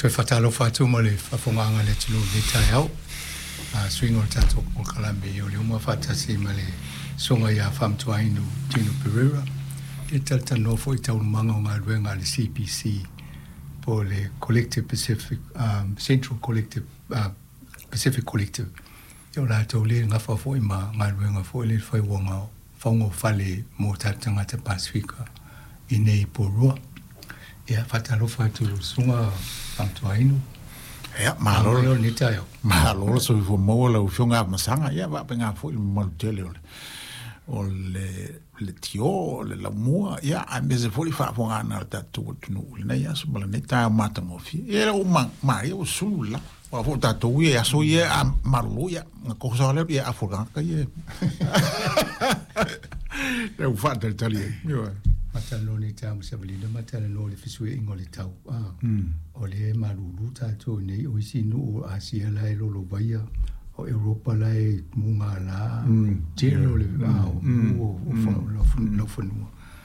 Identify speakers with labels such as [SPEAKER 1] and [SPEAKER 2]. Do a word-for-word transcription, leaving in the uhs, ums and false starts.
[SPEAKER 1] Toe faatalofa atu ma le faafofogaaga a le atunuu i lenei taeao. A suiga o le tatou polokalame o le uma faatasi ma le susuga ia Faamantuainu Tino Pereira e talatalanoa foi i taualumaga o galuega a le C P C po o le Collective Pacific, um, Central Collective, uh, Pacific Collective. Ia o latou le gafa foi ma galuega foi le faiuaga fauga o fale mo tatou tagata Pasefika i nei Porirua. Ia faatalofa atu i lau susuga Faamantuainu.
[SPEAKER 2] Ia, malo
[SPEAKER 1] le lenei taeao.
[SPEAKER 2] Malo le soifua maua lau Afioga Afamasaga. Ia, faapena foi le mamalu tele o le o le le tio, o le laumua, ia, aemaise foi le faafofogaaga a le tatou atunuu i lenei aso ma lenei taeao matagofie. Ia, ua ma maia ua sulu le lapa. Aua foi o tatou ia e aso ia a malolo, ia, na koso lea, ia, afu le tagata ia. Ia, ua faatalitali ai. Ioe.
[SPEAKER 1] Matalanoa nei taeao ma savalina, matalanoa i le fesuiaiga o le tau. Ah, o lea e malulu tatou nei o isi nuu o Asia la e lolovaia, o Europa la e mugala, tele o le ah, o mu o o laufanua.